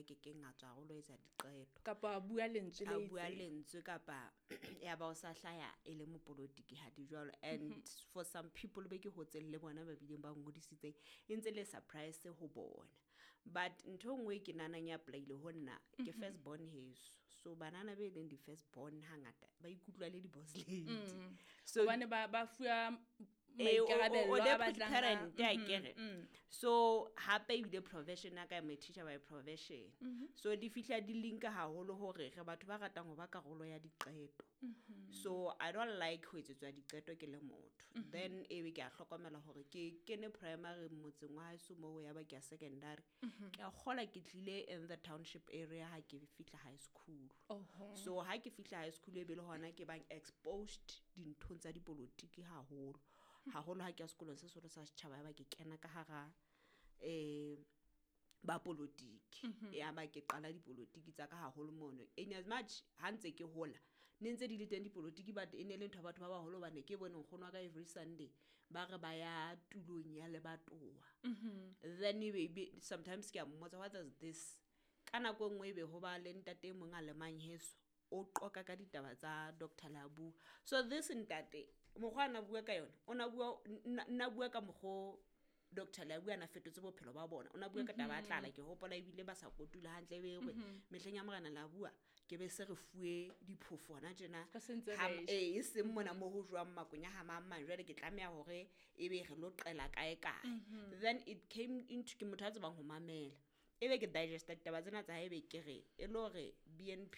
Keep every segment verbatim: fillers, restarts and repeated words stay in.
ya kekeng a tswa haholo etsa diqeto kapa a bua lentswe a le bua itseng. lentswe kapa ya ba o sa hlaya e le mopolotiki ha di jwalo and for some people be ke hotseng le bona ba bileng ba ngodisitseng e ntse le surprise ho bona but ntho e nngwe e ke nahanang ya apply-ile ho nna ke first born heso so banana be leng di-first born hangata ba ikutlwa le di-boss lady so hobane ba ba fuwa Eh, o- o- o maikarabelo a deputy batlang a- parent Mhm, akere so hape ebile profession ya ka I'm a teacher by profession so di fihla di linka haholo hore re batho ba ratang ho ba karolo ya diqeto so i don't like ho etsetswa diqeto ke le motho then ebe ke a hlokomela hore ke kene primary motseng wa haeso moo ya ba ke ya secondary ke a kgola ke tlile in the township area ha ke fihla high school Oho. so ha ke fihla high school e be le hona ke bang exposed dinthong tsa dipolotiki haholo haholo ha ke ya sekolong se seholo sa setjhaba ya ba ke kena ka hara um bapolotiki ya ba ke qala dipolotiki tsa ka haholo mono in as much ha ntse ke hola ne ntse di le teng dipolotiki but e ne le ntho ya batho ba baholo hobane ke bone nkgono wa ka every sunday ba re ba ya tulong ya lebatowa then ebe ebe sometimes ke a mmotsa what is this ka nako e nngwe ebe ho ba le ntate e mong a lemang heso o qoka ka ditaba tsa doctor Leabua so this ntate mokgwa a na bua ka yona o na bua nna nna bua ka mokgo doctor Leabua a na fetotse bophelo ba bona o na bua ka taba ya tlala ke hopola ebile ba sa kotula hantle ebe hore mehleng ya morena Leabua ke be se re fuwe diphofo hona tjena Re se ntse Ha- re ja. ee e seng mona mo ho jowang makwenya ha mang mang jwale ke tlameha hore ebe re lo qela kae kae then it came into ke motho a tsebang ho mamela ebe ke digesta ditaba tsena tsa hae ebe ke re e le hore BNP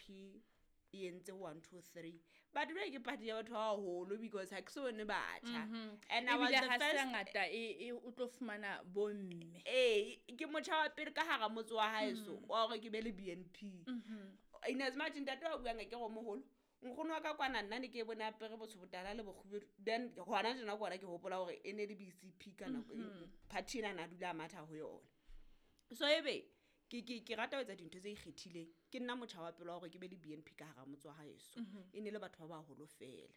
e entse one two three but jwale ke party ya batho ba baholo because ha ke so bone batjha and I was ebile the ha se first ngata e e o tlo fumana bomme ee ke motjha wa pele ka hara motse wa haeso wa hore ke be le BNP in as much ntate wa buang ke go moholo nkgono wa ka kwana nna ne ke bone apere botsho botala le bokgubedu then hona tjena kona ke hopola hore e ne le BCP ka nako party ena na dula a matha ho yona so ebe ke ke ke rata ho etsa dintho tse ikgethileng ke nna motjha wa pele wa hore ke be le BNP ka hara motse wa haeso e ne le batho ba baholo fela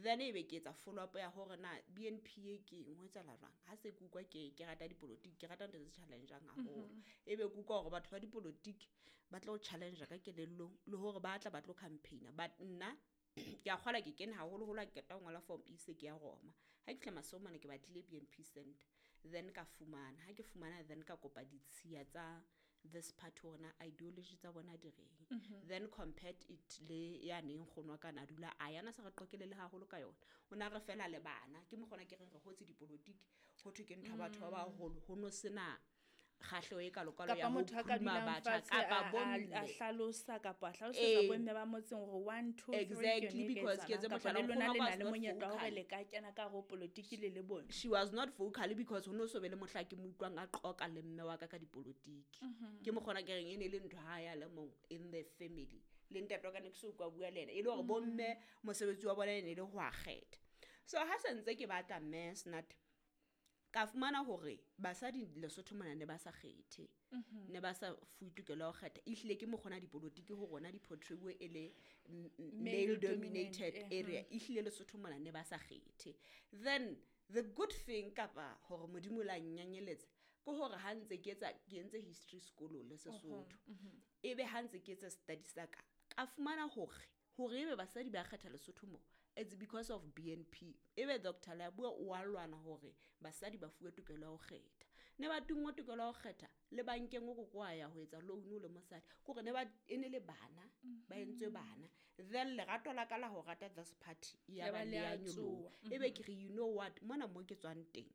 then ebe ke etsa follow up ya hore na BNP e ke eng ho etsahala jwang ha se ke utlwa ke ke rata dipolotiki ke rata ntho tse challenge-ang haholo ebe ke utlwa hore batho ba dipolotiki ba tlo challenge ka kelellong le hore ba tla ba tlo campaign-a but nna ke a kgola ke kene haholoholo ha ke qeta ho ngola form E se ke ya Roma ha ke fihla Masomane ke batlile BNP center then ka fumana ha ke fumana then ka kopa ditshiya tsa this party hore na ideology tsa bona di reng then compared it le yane nkgono wa ka na dula a yana sa re qokele le haholo ka yona o na re fela le bana ke mokgona ke reng re hotse dipolotiki ho thwe ke ntho ya batho ba baholo ho no sena kgahleho e kalokalo kapa ya ho motho a ka phuruma dulang batjha fatshe kapa a- a a bomme hlalosa kapa a hlalosetsa Ee. bomme ba motseng hore one two three ke Exactly, yone e ka because ke etse etsahalang. Kapa mohlala, le lona nkgono le wa na ka le was not monyetla wa hore vocal. le ka kena ka hare ho polotiki le le bomme she was not vocal because ho no so be le mohla ke mo utlwang a qoka le mme wa ka ka dipolotiki ke mokgona ke reng e ne le ntho ha ya le mong in the family le ntate wa ka ne ke so utlwa bua le ena e le hore bomme mosebetsi wa bona e ne le ho a kgetha so ha se ntse ke batla mme snat ka fumana hore basadi Lesotho mona ne ba sa kgethe ne ba sa fuwe tokelo ya ho kgetha ehlile ke mokgona dipolotiki ho rona di portray e le m- m- male dominated eh, area ehlile Lesotho mona ne ba sa kgethe then the good thing kapa hore modimo la nnyanyeletsa ke hore ha ntse ke etsa ke entse history sekolong le Sesotho ebe ha ntse ke etsa study sa ka ka fumana hore hore ebe basadi ba kgetha Lesotho mo it's because of BNP ebe Dr Leabua o a lwana hore basadi ba fuwe tokelo ya ho kgetha ne ba tungwa tokelo ya ho kgetha le bankeng o koko wa ya ho etsa loan o le mosadi ke hore ne ba e ne le bana ba entswe bana then lerato la ka la ho rata this party ya Ya ba ba le le ya a nyoloha tsoha. ebe ke re you know what mona mo ke tswang teng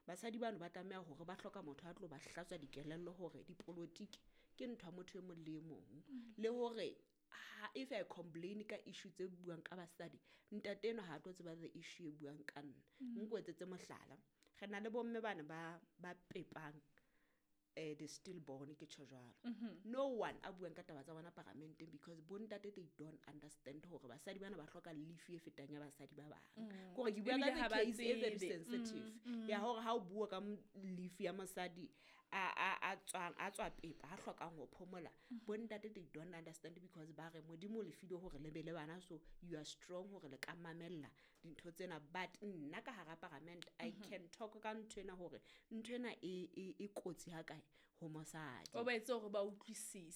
basadi bano ba tlameha hore ba hloka motho a tlo ba hlatswa dikelello hore dipolotiki ke ntho ya motho e mong le e mong le hore ha if I complain ka issue tse buang ka basadi ntate enwa ha a tlo tseba the issue e buang ka nna nko etsetse mohlala re na le bomme bana ba ba pepang eh the stillborn ke tjho jwalo no one a buang ka taba tsa bona paramenteng because bontate they don't understand hore basadi bana ba hloka leave e fetang ya basadi ba bang kore ke bua Ebile ka ha the ba case e very tsebe. sensitive ya hore ha o bua ka m- leave ya mosadi a a a tswang a tswa pepa a hlokang ho phomola bontate they don't understand because ba re modimo o le file hore le be le bana so you are strong hore le ka mamella dintho tsena but nna ka hara parliament i can talk ka ntho ena hore ntho ena e e e kotsi ha kae ho mosadi o ba etse hore ba utlwisise